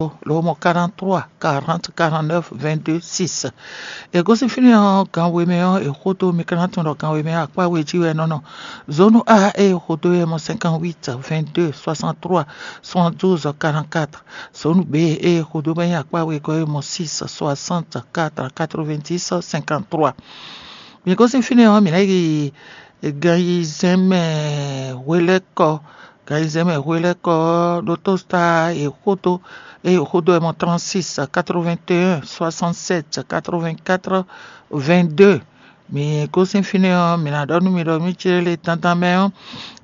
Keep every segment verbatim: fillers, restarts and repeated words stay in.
lǒ mɔ quarante-trois quarante quarante-neuf vingt-deux six. È gosín fínɛ́ ɔ́, gan we mɛ ɔ́, è xo dó mi ka ná tunwun ɖɔ gan we mɛ ɔ́, akpá we jí wɛ é nɔ nɔ. Zónú A ée è xo dó é mɔ cinquante-huit vingt-deux soixante-trois soixante-douze quarante-quatre. Zónú B ée è xo dó bɔ é nyí akpá wegɔ́ é mɔ six soixante-quatre quatre-vingt-dix cinquante-trois. Mi gosín fínɛ́ ɔ́, mǐ ná yi gan yi zɛn mɛ hwelɛ́kɔ. Gan yi zɛn mɛ hwelɛ́kɔ ɔ́, ɖótó Star e xódó eye xódó wɛ mɔ trente-six quatre-vingt-un soixante-sept quatre-vingt-quatre vingt-deux. Mi gosín fínɛ́ ɔ́, mǐ ná ɖɔ nú mi ɖɔ mí cé lé dandan mɛ ɔ́,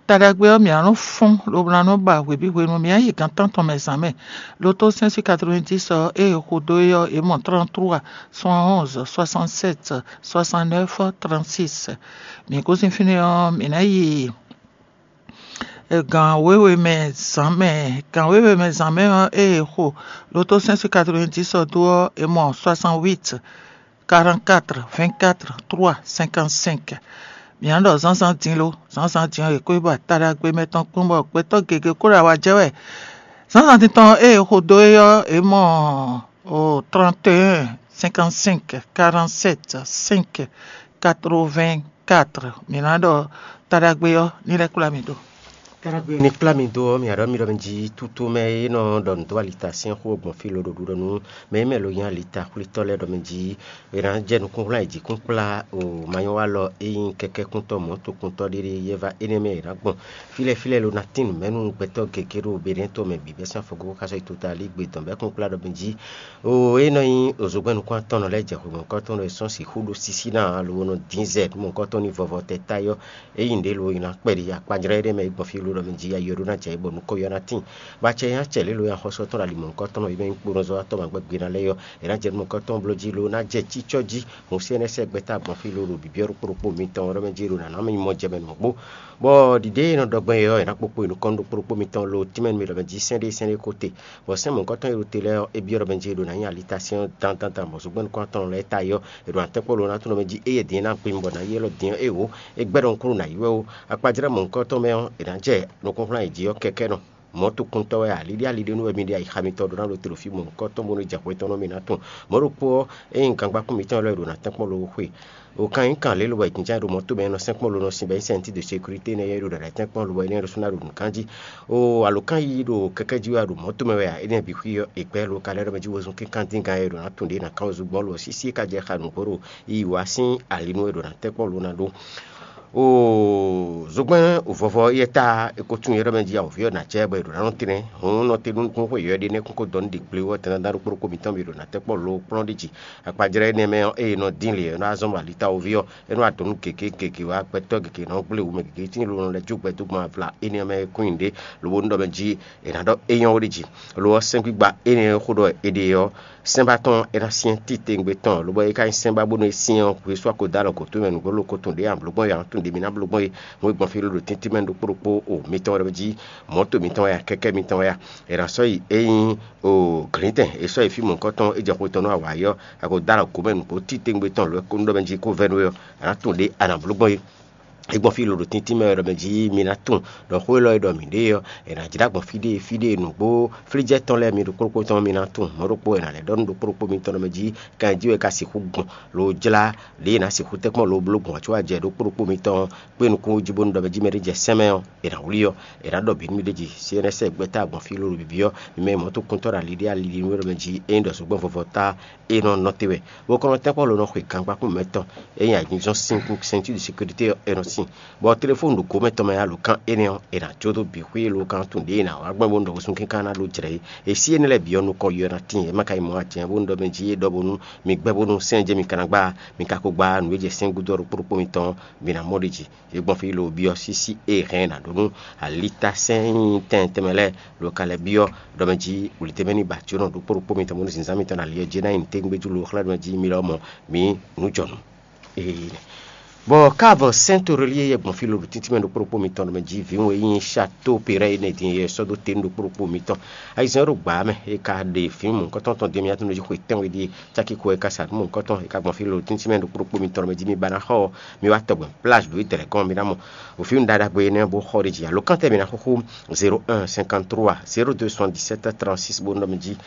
ta ɖagbe ɔ́, mǐ ná nɔ fɔ́n lobo ná nɔ ba hwebǐ hwenu mǐ ná yi gǎn tántɔn mɛ zǎn mɛ. Lotó sɛ́n sí quatre-vingt-dix ɔ́, ée è xo dó é ɔ́, è mɔ trente-trois soixante-onze soixante-sept soixante-neuf trente-six. Mǐ gosín fínɛ́ ɔ́, mǐ ná yi gan wěwe mɛ zǎn mɛ. Gan wěwe mɛ zǎn mɛ ɔ́, ée è xo lotó sɛ́n sí quatre-vingt-dix ɔ́ dó ɔ́, è mɔ soixante-huit quarante-quatre vingt-quatre trois cinquante-cinq. Mǐ ná ɖɔ zǎnzǎn din lo, zǎnzǎn din ɔ́, è ko yi ba ta ɖagbe mɛ tɔn kpɔ́n bɔ gbɛtɔ́ gěgé kó ɖo awa jɛ wɛ. Zǎnzǎn din tɔn ée è xo dó é ɔ́, è mɔ o trente et un cinquante-cinq quarante-sept cinq quatre-vingt-quatre. Mǐ ná ɖɔ ta ɖagbe ɔ́ ní lɛ́ kplá mì ɖo. Ní kplá mi dó ɔ́, mǐ aɖɔ mi ɖɔ mi jí tútú mɛ e nɔ ɖɔ nǔ dó alita sín xó gbɔn fí lo ɖo ɖuɖɔ nú mɛ e mɛ lo nyí alita xwlítɔ́ lɛ́ɛ ɖɔ mi jí è nǎ jɛ nukúnhwlɛ́n ayǐjǐkún kplá o manyɔ́walɔ e nyí kɛkɛ́kúntɔ́ mɔ̌tokuntɔ́ ɖé ɖé yɛ́ vá énɛ́ mɛ è nǎ gbɔn fílɛ́ fílɛ́ lo ná tín nǔ mɛ nú gbɛtɔ́ gěgé ɖo Benɛ́ɛ to mɛ bǐ bɛ́ sín afɔgógó xá sɔ́ yi tota alígbe dɔn bɛ́ kún kplá ɖɔ mi jí o e nɔ nyí òzogbɛ́nukún atɔ́nɔ lɛ́ɛ jɛ hwemɔ̌kɔ́tɔn e sɔ́ sixú ɖó sísí ná ǎ lobo nɔ dín zɛ nú mɔ̌kɔ́tɔn ní vɔvɔ tɛ táyɔ́. Ényí nǔɖé lo nyi ná kpɛɖi akpajlɛ́ ɖé mɛ yi gbɔn fí ló ɖɔ mɛ jí ayi ɔ́ ɖó ná jɛ yi bɔ nukɔn yɔ́ ná tíin. Bɔ acɛ nyí acɛ lě lo nyi axɔ́sú ɔ́ tɔn ɖo ali mɔ̌hunkɔtɔn ɔ́ yi mɛ nyí kponɔzɔ́watɔ́ ma gbɛ́ gbe ná lɛ́ɛ ɔ́, è nǎ jɛ nú mɔ̌hunkɔtɔn bló jí lo ná jɛ cícɔ́ jí. Hun C N S gbɛ́ta gbɔn fí lo ɖo bǐbí ɔ́ ɖokpó ɖokpó mitɔn ɔ́ ɖɔ mɛ jí lo nǎ ná mì mɔ jɛ mɛ nǔ gbó. Bɔ ɖiɖée e nɔ ɖɔ gbɔn é ɔ́, è nǎ kpokpo yi nukɔn ɖokpó ɖokpó mitɔn lo tínmɛ nú mì ɖɔ mɛ jí sɛ́n ɖé sɛ́n ɖé ko te. Bɔ sɛ́n mɔ̌hunkɔtɔn e ɖo te lɛ́ɛ ɔ́, é byɔ́ ɖɔ mɛ jí lo ná nyi alitasɛ́n ɔ́ dandan dan bɔ zogbɛ́nukún atɔn lɛ́ɛ ta yi ɔ́, è ɖo atɛ́nkpɔ́ lo ná tɔn ɖɔ mɛ jí éyɛ́ din e ná gbin bɔ nǎ yi élɔ́ din ɔ́, é wǒ. É gbɛ́ ɖɔhun kúnnu nǎ yi wɛ ó. Akpajlɛ́ mɔ̌hunkɔtɔn mɛ ɔ́, è nǎ jɛ nukúnxwlán e jí ɔ́ kɛkɛ́ nɔ. Mɔ̌tokuntɔ́ wɛ a, liɖíaliɖí nú wɛ mi ɖe ayixamitɔ́ ɖó ná ɖo te ɖo fí mɔ̌hunkɔtɔn bónú jɛ hwetɔ́n nú mi ná tunwun. Mɔ̌ ɖokpó ɔ́, ényí gangba kún mitɔn lɛ́ɛ ɖo ná tɛ́nkpɔ́n lo xwe. O kan nyí kan lě lobɔ è jínjɔ́n ɖo mɔ̌ tomɛ nɔ sɛ́nkpɔ́n lo nɔ sin bɔ é nyí sɛ́n ɔ́ cí de sékurité nɛ́ yɔ́ é ɖo ɖaɖa tɛ́nkpɔ́n lobɔ é nɛ́ ɖo sú ná ɖo nǔ kan jí. O alǒkan yiyi ɖo kɛkɛ́ jí wɛ a ɖo mɔ̌ tomɛ wɛ a? Énɛ́ bǐ xwí ɔ́, è gbɛ́ lo ka lɛ́ ɖɔ mɛ jí wezun kínkán dín gan e ɖo ná tunwun ɖě ná kán wezun gbɔn lo ɔ́ sísí é ka jɛ xa nǔgbó ɖo yiyi wá sín ali nú é ɖo ná tɛ́nkpɔ́n lo ná ɖó. O zogbɛ́n vɔvɔ yɛ ta è ko tunwun yɛ ɖɔ mɛ jí awǒvi ɔ́ ná jɛ bɔ è ɖo ná nɔ tɛ́nɛ́. Hǔn nɔ te nú nukúnxwe yɔ̌yɔ́ ɖé nɛ́ kún ko dɔ nú ɖi gblé wɛ tɛndandan ɖokpó ɖokpó mitɔn bǐ ɖo ná tɛ́nkpɔ́n lo kplɔ́n ɖi jí. Akpajlɛ́ énɛ́ mɛ ɔ́, ée è nɔ dín lě ɔ́, é nɔ wá zɔ́n bɔ alita wǒvi ɔ́, é nɔ wá dɔn nú gěgé gěgé wá gbɛtɔ́ gěgé nɔ gblé wǔ mɛ gěgé tíin lo nɔ lɛ́ jó gbɛ dó gbɔn avla énɛ́ mɛ kún nyi ɖě, lobo nú ɖɔ mɛ jí è nǎ ɖɔ é nyɔ́ ɖi jí. Lo ɔ́, sɛ́ngbígba énɛ́ e xó ɖɔ è ɖe ɔ́, sɛ́nbá tɔn é ná syɛ́n titewungbe tɔn, lobo é ka nyí sɛ́nbá bónú é syɛ́n ɔ́, hwesú a ko dó alɔ gǒ towe mɛ nǔgbó lo ko tun ɖě amblǒgbɔ́n e a nɔ tun ɖě mi ná bló gbɔn é. Hǔn e gbɔn fí ló ɖo tíntín mɛ ɖokpó ɖokpó o mitɔn wɛ ɖɔ mɛ jí mɔ̌ to mitɔn wɛ a, kɛkɛ́ mitɔn wɛ a, è nǎ sɔ́ yi é nyí o glǐndɛn è sɔ́ yi fí mɔ̌hunkɔtɔn é jɛ xwe tɔn nú awǎ yi ɔ́, a ko dó alɔ gǒ mɛ nǔgbó titewungbe tɔn lǒ e kó nú ɖɔ mɛ jí kó vɛ́ nú we ɔ́, a nǎ tunwun ɖě a nǎ bló gbɔn é. É gbɔn fí lo ɖo tíntín mɛ wɛ ɖɔ mɛ jí mi ná tunwun ɖɔ xó élɔ́ e ɖɔ mǐ ɖe ɔ́, è nǎ jlá gbɔn fí ɖé fí ɖé nǔgbó flíjɛ́ tɔn lɛ́ɛ mi ɖokpó ɖokpó tɔn mi ná tunwun. Mɔ̌ ɖokpó è nǎ lɛ́ ɖɔ nú ɖokpó ɖokpó mitɔn ɖɔ mɛ jí kan jí wɛ ka sixú gbɔn lo jlá ɖě è nǎ sixú tɛ́nkpɔ́n lo bló gbɔn ǎ có wá jɛ ɖokpó ɖokpó mitɔn kpé nukún jí bónú ɖɔ mɛ jí mɛ ɖé jɛ sɛ́n mɛ ɔ́, è nǎ wlí ɔ́, è nǎ ɖɔ bǐ nú mì ɖ'é jí. C N S gbɛ́ta gbɔn fí ló ɖo bǐbí ɔ́, mi mɛ mɔ̌tokuntɔ́ ɖo ali ɖé ali ɖi nú é ɖɔ mɛ jí é nyí ɖɔ zogbɛ́n vɔvɔ tá é nɔ nɔ te wɛ. Bó kɔn nɔ tɛ́nkpɔ́n lo nɔ xwe gangba kún mɛ tɔn é nyí ayǐjínzɔ́n sín kún sɛntídu sekirité ɔ́ é nɔ sín. Bɔ telefónu ɖo gǒ mɛ tɔn mɛ alo kan énɛ́ ɔ́, è nǎ jó dó bǐ xwé e lo kan tun ɖě è nǎ wá gbɔn bónú ɖɔ wosún kínkan ná ɖó jlɛ̌ é. E sí énɛ́ lɛ́ɛ bǐ ɔ́ nukɔn yi ɔ́ ná tíin, é ma ka nyí mɔ̌ ǎ jɛ́n bónú ɖɔ mɛ jí é ɖɔ bónú mi gbɛ́ bónú sɛ́n jɛ́n mi ka ná gbá, mi ka ko gbá nǔ e jɛ sɛ́n gúdo ɔ́ ɖokpó ɖokpó mitɔn ɔ́, mi ná mɔ ɖ'é jí. É gbɔn fí lo byɔ́ sísí e hɛn è nǎ ɖó nú alitasɛ́n nyí tɛn tɛnmɛ lɛ́ɛ lo ka lɛ́ byɔ́ ɖɔ mɛ jí wlǐdémɛ ní ba jǒnɔ ɖokpó ɖokpó mitɔn bónú zǐnzán mitɔn ɖo ali ɔ́ jí ná nyi nǔtɛ́ngbéjú lo xlɛ́ ɖɔ mɛ jí mi lɔmɔ̌ mi nǔjɔnǔ. Ee. Bɔ káàbọ̀ sɛ́ntorolie yɛ gbɔn fí lolo títí mɛ ɖokpó ɖokpó mitɔn ɖo mɛ jí vǐwun e nyí Château Péré énɛ́ din yɛ sɔ́ dó te ɖokpó ɖokpó mitɔn. Ayizɛ́n ɖo gbǎ mɛ é ka ɖe vǐwun mɔ̌hunkɔtɔn tɔn din mɛ yatɔn jí xwe tɛ́nwe ɖíe cáki ko e ka sa nǔ mɔ̌hunkɔtɔn é ka gbɔn fí lolo títí mɛ ɖokpó ɖokpó mitɔn ɖo mɛ jí mi ba ná xɔ ɔ, mi wá tɔgbɛn plage ɖo Ítɛlɛgɔn mi ná mɔ. Ɖo fíwun ɖaɖa gbe énɛ́ bó xɔ ɖ'é jí alo kántɛ mi ná xúxú zéro un cinquante trois zéro deux soixante-dix-sept trente-six bó nɔ mi jí